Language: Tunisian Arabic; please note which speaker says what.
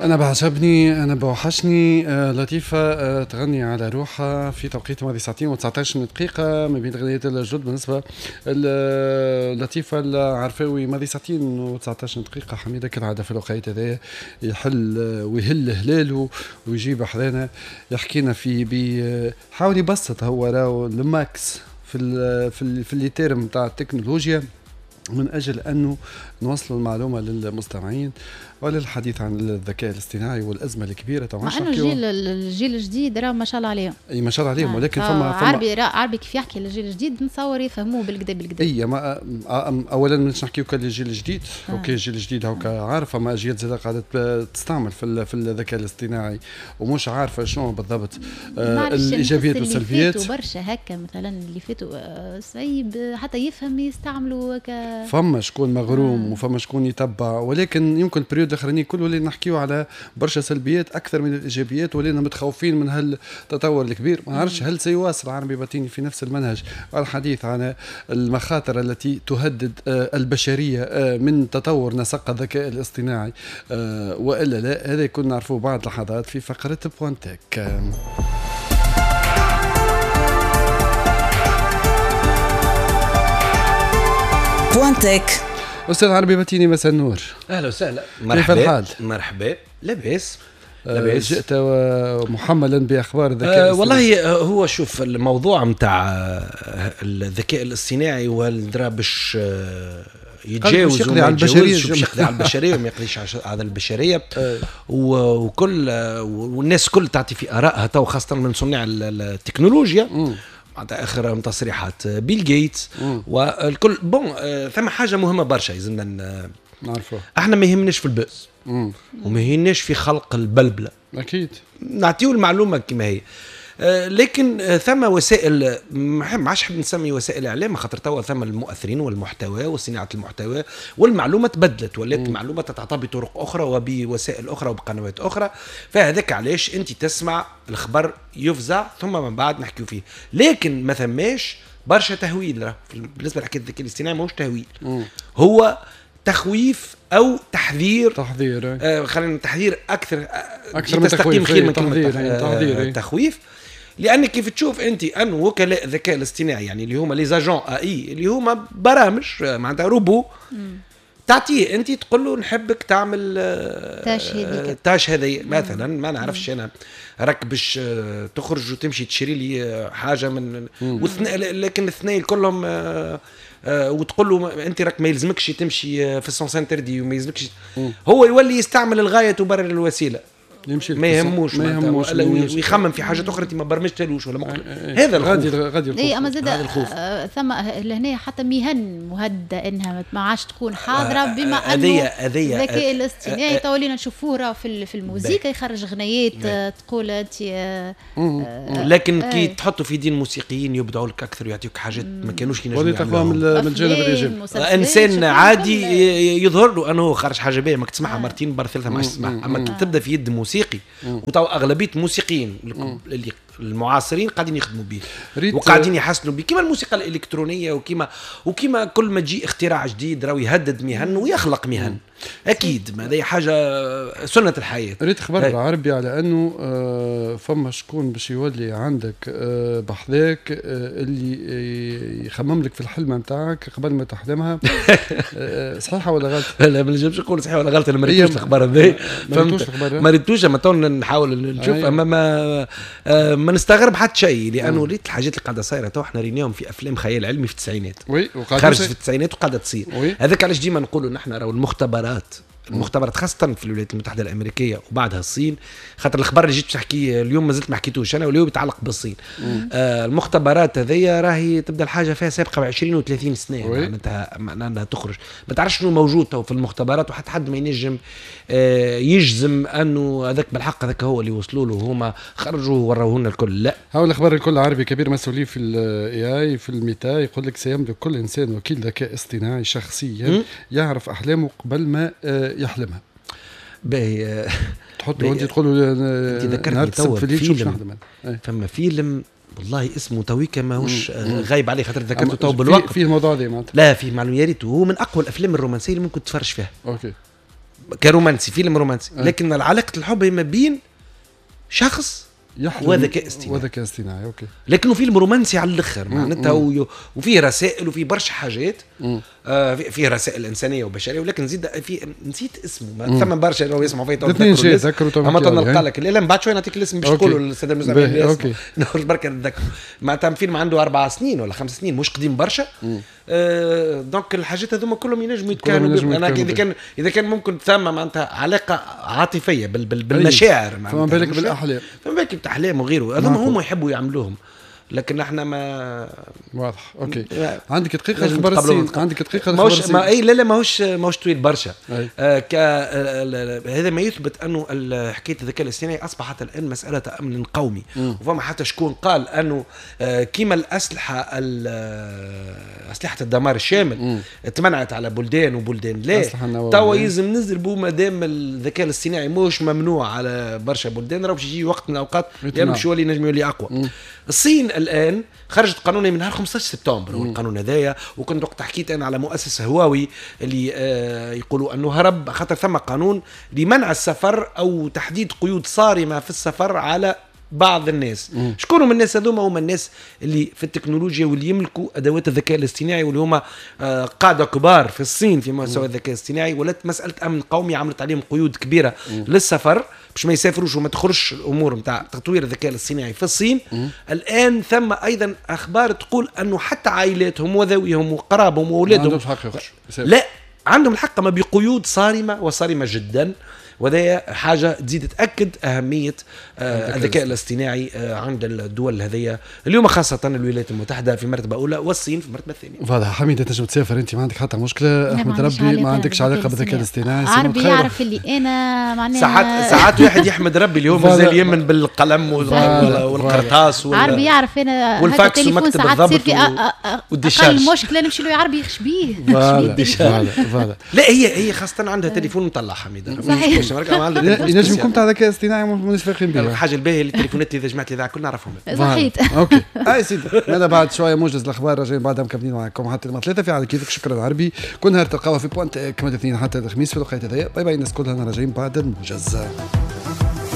Speaker 1: أنا بعجبني، أنا بوحشني. لطيفة تغني على روحها في توقيت ماضي ساعتين و19 دقيقة ما بين غنية الجد. بالنسبة لطيفة العرفاوي ماضي ساعتين و19 دقيقة. حميدة كالعادة في الوقت هذايا يحل ويهل هلاله ويجيب حذانا يحكينا في حاول يبسط هو راهو ال max في les termes تاع التكنولوجيا من أجل أنه نوصل المعلومة للمستمعين وللحديث عن الذكاء الاصطناعي والأزمة الكبيرة.
Speaker 2: مع أنه الجيل الجديد راه ما شاء الله عليهم.
Speaker 1: أي ما شاء الله عليهم، ولكن فما
Speaker 2: عربي كيف يحكي للجيل الجديد نتصور يفهموه بالكدا بالكدا.
Speaker 1: أي ما أولا مش نحكيو كان للجيل الجديد، OK الجيل الجديد هوكا عارف، فما أجيال زادة قاعدة تستعمل في الذكاء الاصطناعي ومش عارفة شنو بالضبط الإيجابيات والسلبيات.
Speaker 2: اللي فاتوا برشا هكا مثلا اللي فاتوا صعيب حتى يفهم يستعملوا
Speaker 1: فما شكون مغروم وفما شكون يتبع، ولكن يمكن ال période الاخراني كله ولينا نحكيو على برشا سلبيات اكثر من الايجابيات، ولينا متخوفين من هالتطور الكبير. ما نعرفش هل سيواصل عربي باتيني في نفس المنهج الحديث عن المخاطر التي تهدد البشرية من تطور نسق الذكاء الاصطناعي والا لا؟ هذا يكون نعرفوه بعد لحظات في فقره Point Tech.
Speaker 3: Point Tech.
Speaker 1: أستاذ عربي باتيني مساء النور.
Speaker 4: أهلا وسهلا. مرحبا.
Speaker 1: كيف الحال؟
Speaker 4: مرحبا، لاباس. لاباس.
Speaker 1: جئت محملا بأخبار الذكاء
Speaker 4: والله هو شوف الموضوع متاع الذكاء الاصطناعي والدرا باش يتجاوز
Speaker 1: يقضي على البشرية،
Speaker 4: باش يقضي على البشرية وما يقضيش على البشرية، وكل والناس كل تعطي في آرائها تو، خاصة من صناع التكنولوجيا. معناتها اخر تصريحات بيل جيتس والكل. bon ثم حاجة مهمة برشا لازمنا
Speaker 1: نعرفوها.
Speaker 4: احنا ما يهمناش في ال buzz وما يهمناش في خلق البلبلة،
Speaker 1: اكيد
Speaker 4: نعطيو المعلومة كما هي، لكن ثم وسائل ما عادش حاب نسمي وسائل اعلام، خاطر توا ثم المؤثرين والمحتوى وصناعة المحتوى، والمعلومه تبدلت ولات المعلومة تتعطى بطرق اخرى وبوسائل اخرى وبقنوات اخرى. فهذاك علاش انت تسمع الخبر يفزع ثم من بعد نحكيو فيه، لكن ما ثماش برشا تهويل. بالنسبة لحكاية الذكاء الاصطناعي ماهوش تهويل، هو تخويف او تحذير. تحذير خلينا تحذير اكثر
Speaker 1: من
Speaker 4: تستقيم خير من كلمة
Speaker 1: تحذير.
Speaker 4: تخويف، لان كيف تشوف انت ان وكلاء الذكاء الاصطناعي يعني اللي هما les agents AI اللي هما برامج معناتها روبو تعطيه انت تقول له نحبك تعمل tâche هذه مثلا، ما نعرفش انا راك باش تخرج وتمشي تشري لي حاجة من لكن الاثنين كلهم وتقول له انت راك ما يلزمكش تمشي في ال sens interdit وما يلزمكش، هو يولي يستعمل الغاية تبرر الوسيلة،
Speaker 1: يمشي
Speaker 4: ما يهموش ويخمم في حاجات اخرى انت ما برمجتلوش ولا ما هذا الخوف.
Speaker 1: غادي
Speaker 2: اي اما زاد ثم لهنا حتى مهن مهددة انها ما عادش تكون حاضره، بما انه الذكاء الاصطناعي تو ولينا نشوفوه في الموسيقى يخرج غنيات تقول انت
Speaker 4: لكن كي تحطوا في دين موسيقيين يبدعوا لك اكثر ويعطيوك حاجات ما كانوش ينجموا
Speaker 1: يعملوها من الجانب الايجابي.
Speaker 4: انسان عادي يظهر له انه خرج حاجة باهيه ماك تسمعها مرتين بر ثلاثة ما عادش تسمعها، اما كي تبدا في يد موسيقي، وتو اغلبية الموسيقيين اللي المعاصرين قاعدين يخدموا به وقاعدين يحسنوا به، كما الموسيقى الالكترونية وكما كل ما تجي اختراع جديد راهو يهدد مهن ويخلق مهن، اكيد ما هذه حاجة سنة الحياة.
Speaker 1: ريت خبر العربي على انه فما شكون باش يولي عندك بحذاك اللي يخمم لك في الحلمة نتاعك قبل ما تحلمها. صحيحه ولا غلط؟
Speaker 4: لا ما نجمش نقول صحيحه ولا غلط، انا ما ريتوش الخبر هذا، ما ريتوش، اما تو نحاول نشوف، اما ما نستغرب حتى شيء، لانه ريت الحاجات اللي قاعدة صايرة تو احنا ريناهم في افلام خيال علمي في التسعينات، خرجت في التسعينات وقاعدة تصير. هذاك علاش ديما نقولوا نحن راهو المختبرات خاصة في الولايات المتحدة الأمريكية وبعدها الصين، خاطر الخبر اللي جيت باش نحكيه اليوم مازلت ما حكيتوش أنا واليوم يتعلق بالصين. المختبرات هذيا راهي تبدا الحاجة فيها سابقة ب 20 و30 سنة، معناتها معناها تخرج ما تعرفش شنو موجود تو في المختبرات، وحتى حد ما ينجم يجزم أنه هذاك بالحق هذاك هو اللي وصلوا له، هما خرجوا وروه لنا الكل. لا
Speaker 1: هاو الأخبار الكل. عربي كبير مسؤولي في ال AI في الميتا يقول لك سيملك كل إنسان وكيل ذكاء اصطناعي شخصيا يعرف أحلامه قبل ما يحلمها.
Speaker 4: باهي
Speaker 1: تحط له انت تقول له
Speaker 4: انت ذكرتني تو فيلم، فما فيلم والله اسمه تويكا ماهوش غايب عليه خاطر ذكرته تو بالوقت.
Speaker 1: فيه الموضوع هذا معناتها؟
Speaker 4: لا فيه معلومة يا ريت، هو من اقوى الافلام الرومانسية اللي ممكن تتفرج فيها.
Speaker 1: OK.
Speaker 4: كرومانسي، فيلم رومانسي، لكن علاقة الحب هي ما بين شخص وذكاء اصطناعي.
Speaker 1: وذكاء اصطناعي، OK.
Speaker 4: لكنه فيلم رومانسي على الاخر معناتها، وفيه رسائل وفيه برشا حاجات، فيه رسائل انسانيه وبشريه، ولكن زيد في نسيت اسمه، ثم برشا اللي يسمعوا فيه
Speaker 1: تو
Speaker 4: اما نلقى لك، لا بعد شوي نعطيك الاسم باش تقولوا للسادة المستمعين. OK نخرج بركة نتذكر معناتها فيلم عنده 4 سنين ولا 5 سنين، مش قديم برشا. donc الحاجات هذوما كلهم ينجموا يتكلموا. انا اذا كان ممكن ثم معناتها علاقة عاطفية بالمشاعر،
Speaker 1: معناتها فما بالك بالاحلام،
Speaker 4: فما بالك بالاحلام وغيره، هذوما هما يحبوا يعملوهم، لكن احنا ما
Speaker 1: واضح. OK عندك دقيقة اخبار الصين، عندك دقيقة اخبار الصين.
Speaker 4: ما اي لا لا ماهوش طويل برشا. هذا ما يثبت انه حكاية الذكاء الاصطناعي اصبحت الان مسالة امن قومي. وفما حتى شكون قال انه كيما الاسلحة اسلحة الدمار الشامل تمنعت على بلدان وبلدان لا، توا يلزم نزربوا مادام الذكاء الاصطناعي ماهوش ممنوع على برشا بلدان، راه باش يجي وقت من الاوقات لانه باش يولي نجم يولي اقوى. الصين الان خرجت قانون من نهار 15 سبتمبر هو القانون هذايا، وكنت وقت حكيت انا على مؤسسة هواوي اللي يقولوا انه هرب خاطر ثم قانون لمنع السفر او تحديد قيود صارمة في السفر على بعض الناس. شكون هم الناس هذوما؟ هما الناس اللي في التكنولوجيا واللي يملكوا ادوات الذكاء الاصطناعي، واللي هما قاده كبار في الصين في مستوى الذكاء الاصطناعي. ولات مسالة امن قومي، عملت عليهم قيود كبيرة للسفر باش ما يسافروش وما تخرجش الامور نتاع تطوير الذكاء الاصطناعي في الصين. الان ثم ايضا اخبار تقول انه حتى عائلاتهم وذويهم وقرابهم واولادهم لا عندهم الحق، ما بقيود صارمة وصارمه جدا، وهذا حاجة تزيد تاكد اهمية الذكاء الاصطناعي عند الدول هذيا اليوم، خاصة الولايات المتحدة في مرتبه اولى والصين في المرتبة الثانية.
Speaker 1: واضح حميده، تنجم تسافر انت ما عندك حتى مشكلة، احمد ربي ما عندكش علاقة بالذكاء الاصطناعي.
Speaker 2: عربي يعرف اللي انا معناها
Speaker 4: ساعات واحد يحمد ربي اليوم مازال يمن بالقلم والقرطاس
Speaker 2: عربي يعرف انا
Speaker 4: والفاكس ومكتب الضبط
Speaker 2: اقل مشكلة نمشي له عربي يخش بيه.
Speaker 4: لا هي خاصة عندها تليفون مطلع حميده.
Speaker 2: صحيح
Speaker 1: ينجم يكون تاع ذكاء اصطناعي مانيش فايقين به.
Speaker 4: الحاجة الباهيه اللي التليفونات اللي جماعة الاذاعة كلنا نعرفهم.
Speaker 2: صحيت.
Speaker 1: OK اي سيدي، ماذا بعد شوية موجز الاخبار، راجعين بعدها مكملين معكم حتى 3 في على كيفك. شكرا عربي، كل نهار تلقاوها في Point كما الاثنين حتى الخميس في الوقت هذايا. bye bye الناس كلها، راجعين بعد الموجز.